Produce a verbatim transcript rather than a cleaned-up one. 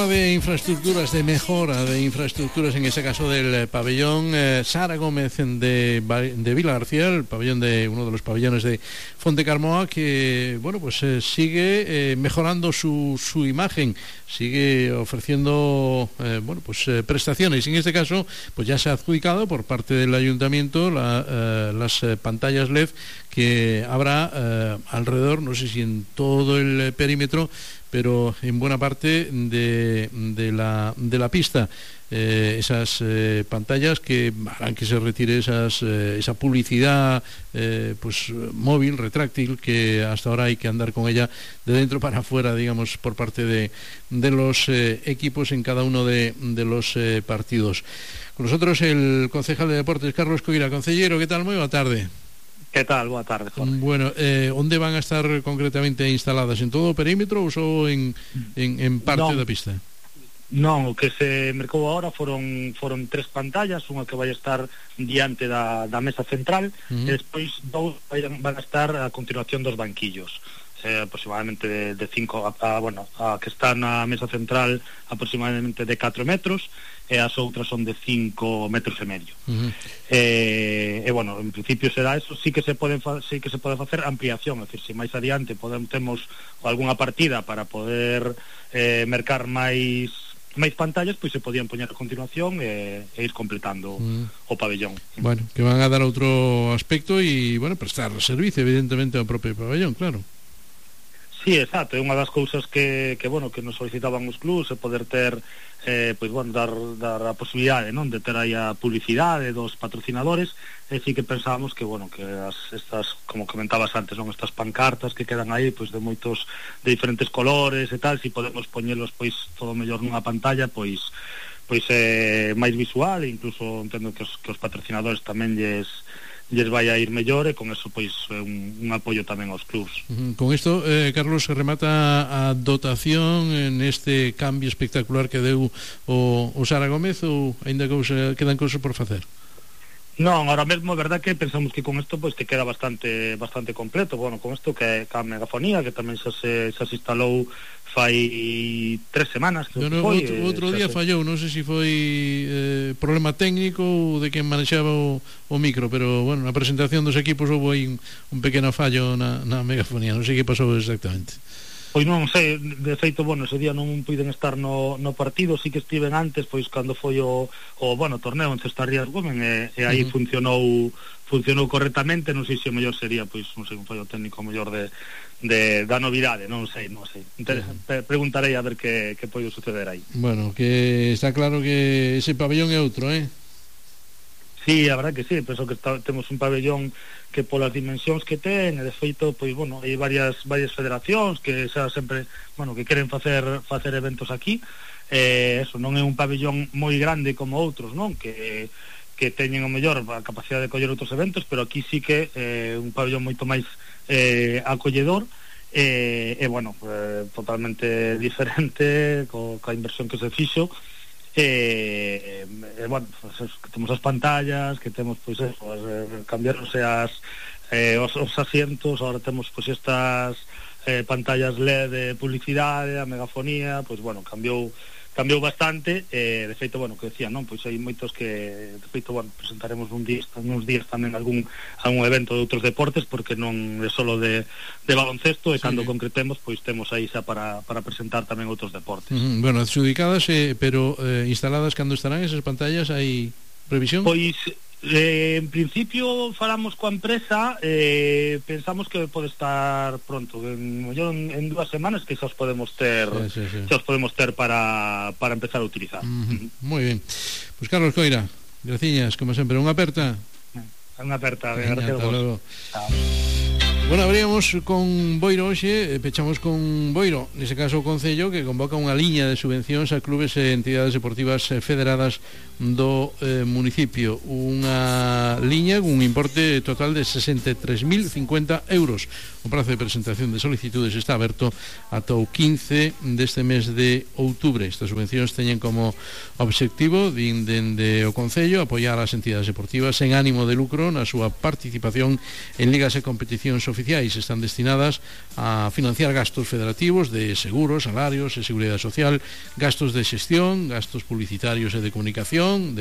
habla de infraestructuras, de mejora de infraestructuras, en ese caso del pabellón eh, Sara Gómez de, de Vilagarcía, el pabellón de uno de los pabellones de Fontecarmoa, que bueno, pues eh, sigue eh, mejorando su, su imagen, sigue ofreciendo eh, bueno, pues eh, prestaciones. En este caso, pues ya se ha adjudicado por parte del ayuntamiento la, eh, las eh, pantallas L E D que habrá eh, alrededor, no sé si en todo el perímetro, pero en buena parte de, de, la, de la pista. Eh, esas eh, pantallas que harán que se retire esas, eh, esa publicidad eh, pues móvil, retráctil, que hasta ahora hay que andar con ella de dentro para afuera, digamos, por parte de, de los eh, equipos en cada uno de, de los eh, partidos. Con nosotros el concejal de Deportes, Carlos Coira. Concellero, ¿qué tal? Muy buena tarde. ¿Qué tal? Boa tarde, Jorge. Bueno, eh, onde van a estar concretamente instaladas? En todo o perímetro ou só en, en, en parte non, da pista? Non, o que se mercou agora foron foron tres pantallas, unha que vai estar diante da, da mesa central, uh-huh. e despois dous van a estar a continuación dos banquillos. Eh, aproximadamente de, de cinco a, a, bueno, a que está na mesa central aproximadamente de catro metros, e as outras son de cinco metros e medio. Uh-huh. eh, e bueno, en principio será eso. Sí que se pode fa- sí que se pode facer ampliación, é dicir, se máis adiante podemos, temos algunha partida para poder eh, mercar máis máis pantallas, pois se podían poñer a continuación e, e ir completando uh-huh. o pabellón. Bueno, que van a dar outro aspecto e, bueno, prestar servicio evidentemente ao propio pabellón, claro. Sí, exacto, é unha das cousas que, que bueno, que nos solicitaban os clubs, é poder ter eh, pois, bueno, dar, dar a posibilidade, non, de ter aí a publicidade dos patrocinadores, e sí que pensábamos que, bueno, que as, estas, como comentabas antes, non, estas pancartas que quedan aí, pois de moitos, de diferentes colores e tal, si podemos poñelos, pois, todo mellor nunha pantalla, pois, pois é máis visual, e incluso entendo que os, que os patrocinadores tamén lles lles vai a ir mellor, e con eso pois un, un apoio tamén aos clubs. Uh-huh. Con isto, eh, Carlos, se remata a dotación en este cambio espectacular que deu o, o Sara Gómez, ou aínda cousa, quedan cousas por facer? Non, ahora mesmo é verdad que pensamos que con isto pois que queda bastante bastante completo. Bueno, con isto que a megafonía, que tamén xa se, xa se instalou fai tres semanas que no, no, foi, outro, outro día se... fallou, non sei se foi eh, problema técnico ou de quen manexaba o, o micro, pero bueno, na presentación dos equipos houve aí un, un pequeno fallo na, na megafonía, non sei que pasou exactamente. Pois non sei, de feito, bueno, ese día non puiden estar no, no partido, sí que estiven antes, pois cando foi o, o bueno, torneo en Cestarrías Gómez, e, e aí uh-huh. funcionou funcionou correctamente. Non sei se o mellor sería, pois, non sei, un fallo técnico mellor de, de da novidade, non sei, non sei. Inter- uh-huh. Preguntarei a ver que, que pode suceder aí. Bueno, que está claro que ese pabellón é outro, eh? Sí, a verdad que sí, penso que está, temos un pabellón que polas dimensións que ten, e de feito, pois, bueno, hai varias varias federacións que xa sempre, bueno, que queren facer facer eventos aquí. Eh, eso, non é un pabellón moi grande como outros, non? Que que teñen o mellor a capacidade de coller outros eventos, pero aquí sí que é eh, un pabellón moito máis eh, acolledor, e, eh, eh, bueno, eh, totalmente diferente co, coa inversión que se fixo. E, eh, bueno, pues, que temos as pantallas, que temos, pois eso, as, eh, cambiaronse as eh, os, os asientos, ahora temos pois estas eh, pantallas L E D de publicidade, a megafonía, pois bueno, cambiou cambiou bastante, e eh, de feito, bueno, que decía, non, pois hai moitos que, de feito, bueno, presentaremos un día, uns días tamén algún algún evento de outros deportes, porque non é solo de, de baloncesto, e sí, cando concretemos, pois temos aí xa para, para presentar tamén outros deportes. Uh-huh. Bueno, adjudicadas, eh, pero eh, instaladas, cando estarán esas pantallas, hai previsión? Pois Eh, en principio falamos coa empresa, eh, pensamos que pode estar pronto, en, en, en dúas semanas que xa os podemos ter, sí, sí, sí. xa os podemos ter para, para empezar a utilizar. Uh-huh. Moi ben. Pois pues Carlos Coira, graciñas, como sempre, unha aperta. Unha aperta, Venga, gracias a vos. Chao. Bueno, abríamos con Boiro hoxe, pechamos con Boiro, nese caso o Concello, que convoca unha liña de subvencións a clubes e entidades deportivas federadas do eh, municipio. Unha liña con un importe total de sesenta e tres mil cincuenta euros. O prazo de presentación de solicitudes está aberto ata o quince deste mes de outubro. Estas subvencións teñen como obxectivo, din dende o Concello, apoiar as entidades deportivas sen ánimo de lucro na súa participación en ligas e competicións oficiais oficiais están destinadas a financiar gastos federativos de seguros, salarios e seguridade social, gastos de xestión, gastos publicitarios e de comunicación, de